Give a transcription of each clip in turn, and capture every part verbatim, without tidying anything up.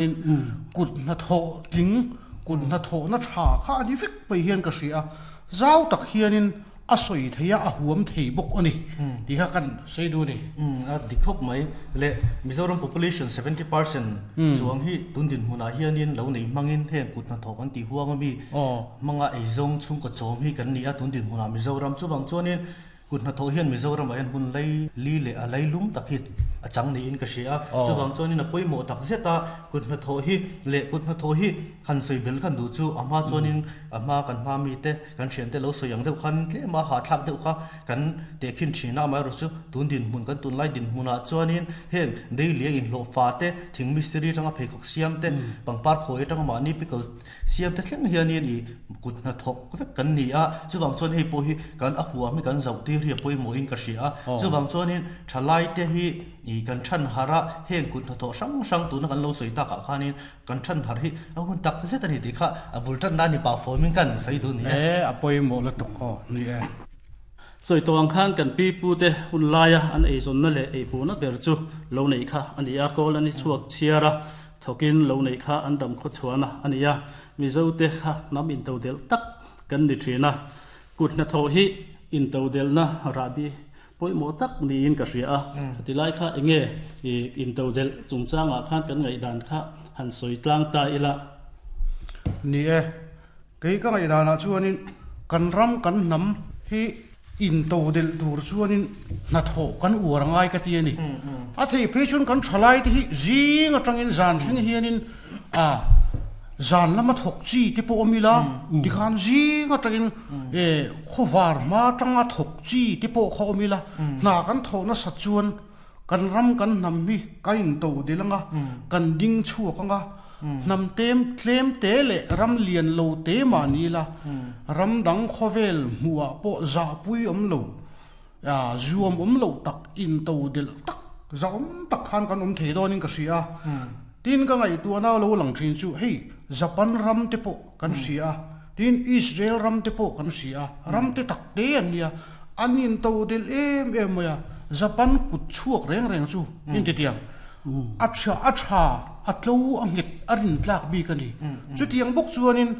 Kut hnathawh tling, kut hnathawhna tha kha a ni vek mai hian ka hria a, zau tak hianin a sawi thei a, a huam thei bawk a ni tih kha kan sawi duh a ni. A dik khawp mai. Le Mizoram population seventy percent chuang hi tun dinhmunah hianin lo nei hmangin heng kut hnathawh kan tih huang ami hmanga eizawng chhungkaw chawm hi kan ni a tun dinhmunah Mizoram. Chuvang chuanin kut hnathawh hian Mizoramah hian hmun lei li leh a lei lum tak hi a chang niin ka hria a. Chuvang chuanin a pawimawh tak zet a kut hnathawh hi leh kut hnathawh hi han sawi bel khan duh chu a hma chuanin a hma kan hma mite kan thiante lo sawi ang deuh khan tlem a hahthlak deuh kha kan tehkhin thin a, amaherawhchu chu tun dinhmun kan tunlai dinhmunah chuanin heng daily a inhlawh fa te, thing mistiri atanga pheikhawk siam te, pangpar khawi atanga mahni pickle siam te thleng hianin ih kut hnathawk vek kan ni a, chuvang chuan hei pawh hi kan a huam hi kan zauh tir hi a pawimawhin ka hria a, chuvang chuanin thalai te hi ih kan than harh a, heng kut hnathawh hrang hrang tuna kan lo sawi takah khanin kan than harh hi a hun tak zet a ni tih kha a bul tan nan i pah fawmin kan sawi duh ni e. E, a pawimawh lutuk aw ni e. Sawi tawh ang khan kan pi pu te hun laia an eizawnna leh eihmuhna ber chu lo neih kha a ni a, kawl an i chhuak chhiar a, thawkin lo neih kha an dam khaw chhuahna a ni a, Mizo te kha hnam intodelh tak kan ni thin a, kut hnathawh hi intodelhna rahbi pawimawh tak niin ka hria a, tilai kha enge intodelh chungchangah khan kan ngaihdan kha han sawi tlang ta ila. Ni e, kei ka ngaihdanah chuanin kan ram kan hnam hi intodelh tur chuanin hnathawh kan uar angai ka ti a ni. A thei phei chuan kan thalai te hi zing atangin zan thleng hianin a zan lama thawk chi te pawh awm ila, tikhan zing atangin e khawvar hma atanga thawk chi te pawh kha awm ila, hna kan thawh nasat chuan kan ram kan hnam hi kan intodelh anga, kan ding chhuak anga, hnam tem tlem te leh ram lian lo te mah ni ila, ram dang khawvel hmuhah pawh zahpui awm lo, zuam awm lo tak, intodelh tak, zahawm tak khan kan awm thei dawnin ka hria a. Tin ka ngaihtuahna lo lang thin chu hei Japan ram te pawh kan hria a, tin Israel ram te pawh kan hria a, ram te tak te an nia, an intodelh em em mai a, Japan kut chhuak reng reng chu intitiang a tha a tha a tlo a nghet a rin tlak bik a ni. Chutiang bawk chuanin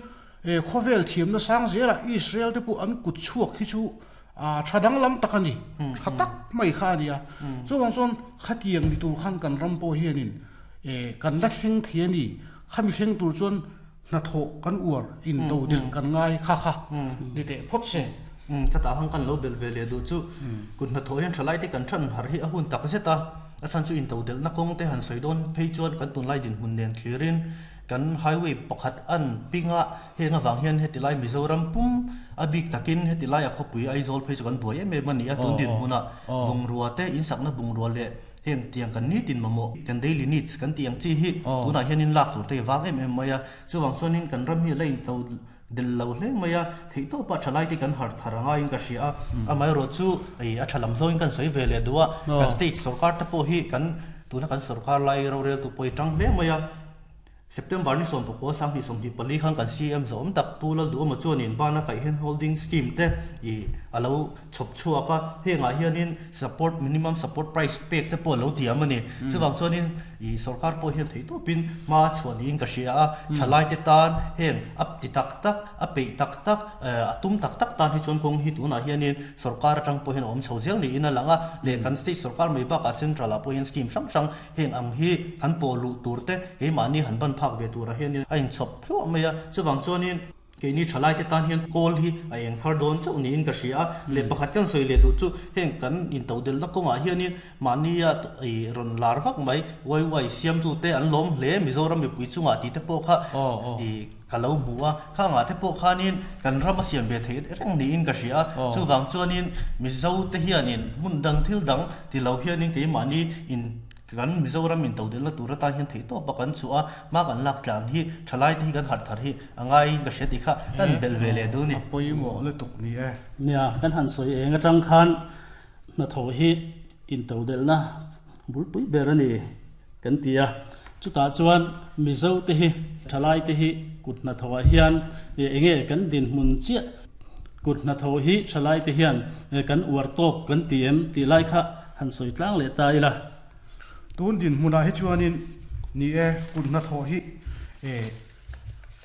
khawvel thiamna sang zelah Israel te pawh an kut chhuak hi chu a tha danglam tak a ni, tha tak mai kha a ni a. Chuvang chuan khatiang ni tur khan kan ram pawh hianin kan la thleng thei a ni, khami thleng tur chuan hnathawh kan uar intodelh kan ngai kha kha ni teh phawt se. Khatah han kan lo belh ve leh duh chu kut hnathawh hian thalai te kan than harh hi a hun tak zet a, a chhan chu intodelhna kawng te han sawi dawn phei chuan kan tunlai dinhmun nen thlirin kan highway pakhat an ping a, heng avang hian heti lai Mizoram pum a bik takin heti lai a khawpui Aizawl phei chu kan buai em em a ni a, tun dinhmunah bungrua te insakna bungrua leh heng tiang kan nitin mamawh kan daily needs kan tih ang chi hi tunah hianin lak tur te hi vang em em mai a, chuvang chuanin kan ram hi a la into del lo hle mai a, theihtawpah thalai te kan harh thar angaiin ka hria a, amaherawhchu a tha lam zawngin kan sawi ve leh duh a, kan state sorkar te pawh hi kan tuna kan sorkar lai roreltu pawh hi tang hle mai a, September ni sawm pakua sanghnih sawmhnih pali khan kan C M zawm tak Pu Lalduhawma chuanin bana kaih hian holding scheme te ih a lo chhawp chhuak a, hengah hianin support minimum support price pek te pawh a lo tiam a ni. Chuvang chuanin ih sorkar pawh hian theihtawpin hma chhuah niin ka hria a, thalai te tan heng a ti tak tak, a peih tak tak, a tum tak tak tan hi chuan kawng hi tunah hianin sorkar atang pawh hian a awm chho zel niin a lang a, leh kan state sorkar mai bakah central ah pawh hian scheme hrang hrang heng ang hi han pawh luh tur te keimahni han ban phak ve turah hianin a inchhawp hluah mai a, chuvang chuanin keini thalai te tan hian kawl hi a eng thar dawn chauh niin ka hria a, leh pakhat kan sawi leh duh chu heng kan intodelhna kawngah hianin mahnia rawn lar vak mai Y Y siamtute an lawm hle Mizoram mipui chungah tih te pawh kha ih ka lo hmu a, khangah te pawh khanin kan ram a siam ve theih reng niin ka hria a, chuvang chuanin Mizo te hianin hmun dang thil dang ti lo hianin keimahni in kan Mizoram in todelhna tur atan hian theihtawp a kan chhuah a, hma kan lak tlan hi thalai te hi kan harh thar hi a ngaiin ka hria tih kha kan belh ve leh duh a ni. A pawimawh lutuk ni e. Nia, kan han sawi eng atang khan hnathawh hi intodelhna bulpui ber a ni kan ti a, chutah chuan Mizo te hi thalai te hi kut hnathawhah hian enge kan dinhmun chiah kut hnathawh hi thalai te hian kan uar tawk kan ti em tih lai kha han sawi tlang leh ta ila. Tun dinhmunah hi chuanin Ni e kut hnathawh hi e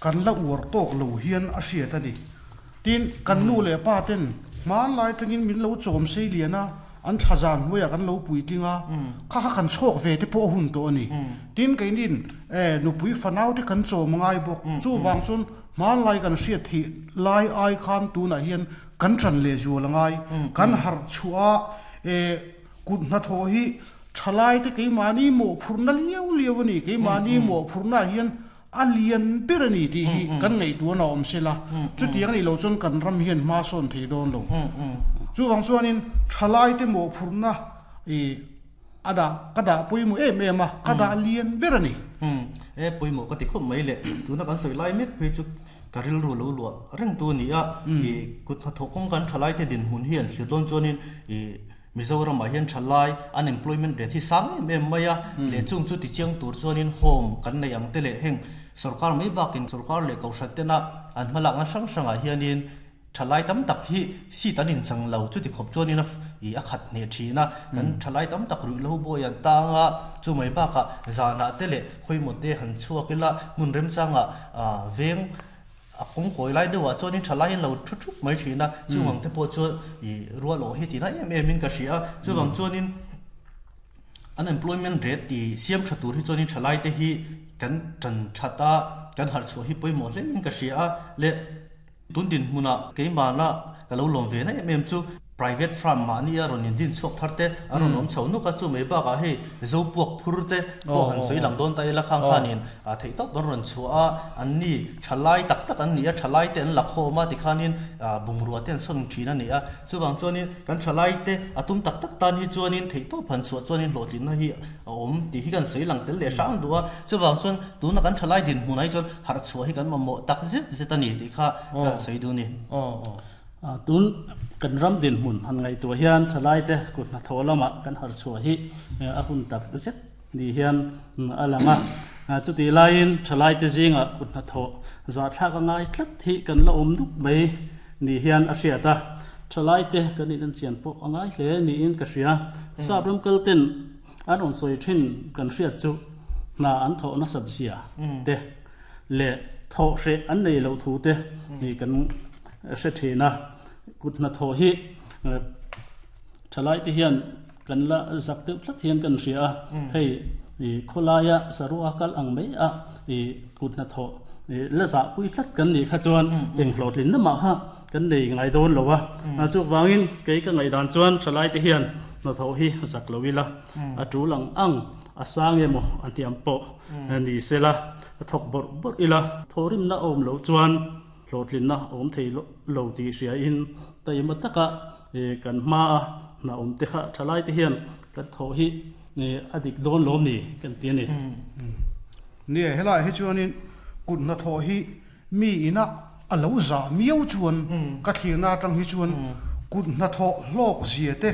kan la uar tawk lo hian a hriat a ni. Tin kan nu leh pa ten hmanlai tangin min lo chawm sei lian a an thazan hnuaiah kan lo puitling a kha kha kan chhawk ve te pawh a hun tawh a ni. Tin keinin e nupui fanau te kan chawm ngai bawk chu wang chuan hmanlai kan hriat theih lai ai khan tunah hian kan tran leh zual angai kan harh chhuah e kut hnathawh hi thalai te keimahni mawhphurhna liau liau a ni. Keimahni mawhphurhna hian a lian ber a ni tih hi kan ngaihtuahna a awm sela chutiang a nih loh chuan kan ram hian hma sawn thei dawn lo. Chuwang chuanin thalai te mawhphurhna e a dah ka dah pawimawh em em a ka dah lian ber a ni. E pawimawh ka ti khawp mai le tuna kan sawi lai mek phei chu ka rilru lo luah reng tu a ni a i kut hnathawh kawng kan thalai te dinhmun hi an thlir dawn chuanin i Mizoram ah hian thalai unemployment rate hi sang em em mai a leh chung chu tichiang tur chuanin home kan nei ang te leh heng sarkar mai bakin sarkar leh kohhran tena an hmalakna hrang hrangah hianin thalai tam tak hi seat an inchang lo chuti khawp chuanin a i a khat hne thin a kan thalai tam tak ruih lo bawi an tang a chu mai bakah zanah te leh khawimaw te han chhuak ila hmun remchangah veng a kawng kawi lai deuhah chuanin thalai hian lo thu thup mai thin a chuwang te pawh chu i rual awh hi tina em em in ka hria a chuwang chuanin unemployment rate i siam tha tur hi chuanin thalai te hi kan tan that a kan harh chhuah hi pawimawh hle in ka hria a leh tun dinhmunah keimahna ka lo lawm ve na em em chu private firm mahni a rawn in din chhuak thar te a rawn awm chho nuk a chu mai bakah hei zo puak phur te pawh han sawi lang dawn ta ila khang khanin a theih tawp an rawn chhuah a an ni thalai tak tak an ni a thalai te an la khawm a tikhanin bungrua te an sawn thin a ni a chuwang chuanin kan thalai te a tum tak tak tan hi chuanin theih tawp han chhuah chuanin hlawhtlinna hi a awm tih hi kan sawi lang tel leh hrang duh a chuwang chuan tuna kan thalai dinhmun ai chuan harh chhuah hi kan mamawh tak zet zet a ni tih kha kan sawi duh ni. Tun kan ram dinhmun han ngaihtuah hian thalai te kut hnathawh lamah kan harh chhuah hi a hun tak zet ni hian a lang a chuti laiin thalai te zingah kut hnathawh zahthlak a ngai tlat hi kan la awm nuk mai ni hian a hriat a thalai te kan in an chian pawh a ngai hle niin ka hria. Sap ram kal ten an rawn sawi thin kan hriat chu hna an thawh nasat zia te leh thawh hreh an nei loh thu te ni kan hre thin a kut hnathawh hi thalai te hian kan la zak deuh tlat hian kan hria a hei i khawlaia sarua kal ang mai a i kut hnathawh la zah pui tlat kan nih kha chuan eng hlawhtlin na mah kha kan nei ngai dawn lo a chu wangin kei ka ngaihdan chuan thalai te hian hnathawh hi zak lo ila a tul ang ang a sang emaw a hniam pawh ni sela a thawk bawrh bawrh ila thawrimna awm lo chuan hlawhtlinna awm thei lo tih hria in taima taka kan hma a hna awm te kha thalai te hian kan thawh hi a dik dawn lawm ni kan ti a ni. Ni e helai hi chuanin kut hnathawh hi mi ina a lo zah miau chuan ka thlirna atang hi chuan kut hnathawh hlawk zia te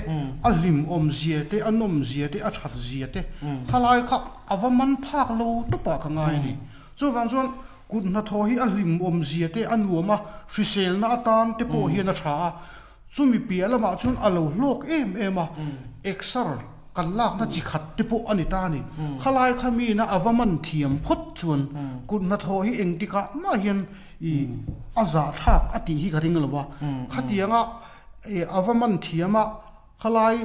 a hlim awm zia te a nawm zia te a that zia te khalai kha a va man phak lo tawpah ka ngai a ni. Chuwang chuan kut hnathawh hi a hlim awm zia te a nuam a hriselna atan te pawh hian a tha a chumi piah lamah chuan a lo hlawk em em a exer kan lakna chi khat te pawh a ni ta a ni. Khalai kha mi na a va man thiam phawt chuan kut hnathawh hi engtikah mah hian i a zahthlak a tih hi ka ring lo a khatianga a va man thiam a khalai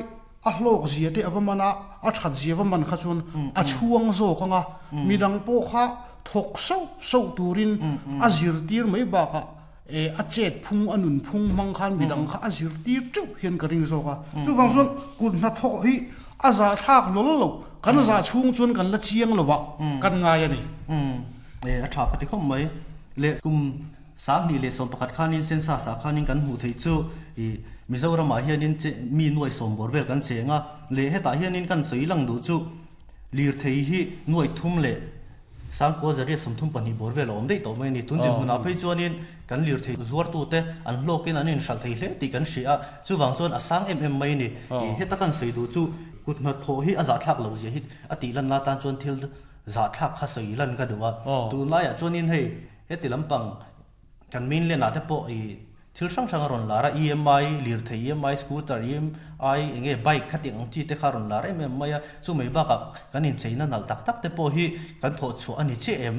a hlawk zia te a va man a a that zia va man kha chuan a chhuang zawk anga midang pawh kha thawk sauh sauh turin a zir tir mai bakah e a chet phung a nun phung hmang khan midang kha a zir tir teuh hian ka ring zawk a chuwang chuan kut hnathawh hi a zahthlak lawlh lo kan zah chhung chuan kan la chiang lo a kan ngai a ni. E a tha ka ti khawp mai le kum sang hnih leh sawm pakhat khanin census ah khanin kan hmuh theih chu i Mizoramah hianin mi nuai sawm bawr vel kan cheng a leh hetah hianin kan sawi lang duh chu lir thei hi nuai thum leh sangkua zaria sawmthum pahnih bawr vel a awm daih tawh mai a ni. Tun dinhmunah phei chuanin kan lir thei zuar tu te an hlawkin an inhralh thei hle tih kan hria a chuwang chuan a sang em em mai a ni. Heta kan sawi duh chu kut hnathawh hi a zahthlak lo zia hi a tih lan la tan chuan thil zahthlak kha sawi lan ka duh a tunlaiah chuanin hei heti lampang kan mainland ah te pawh i Thil hrang hrang a rawn lar a, E M I lirthei, E M I scooter, E M I eng nge bike kha tih ang chi te kha a rawn lar em em mai a, chu mai bakah kan incheina nalh tak tak te pawh hi kan thawh chhuah a ni chiah em?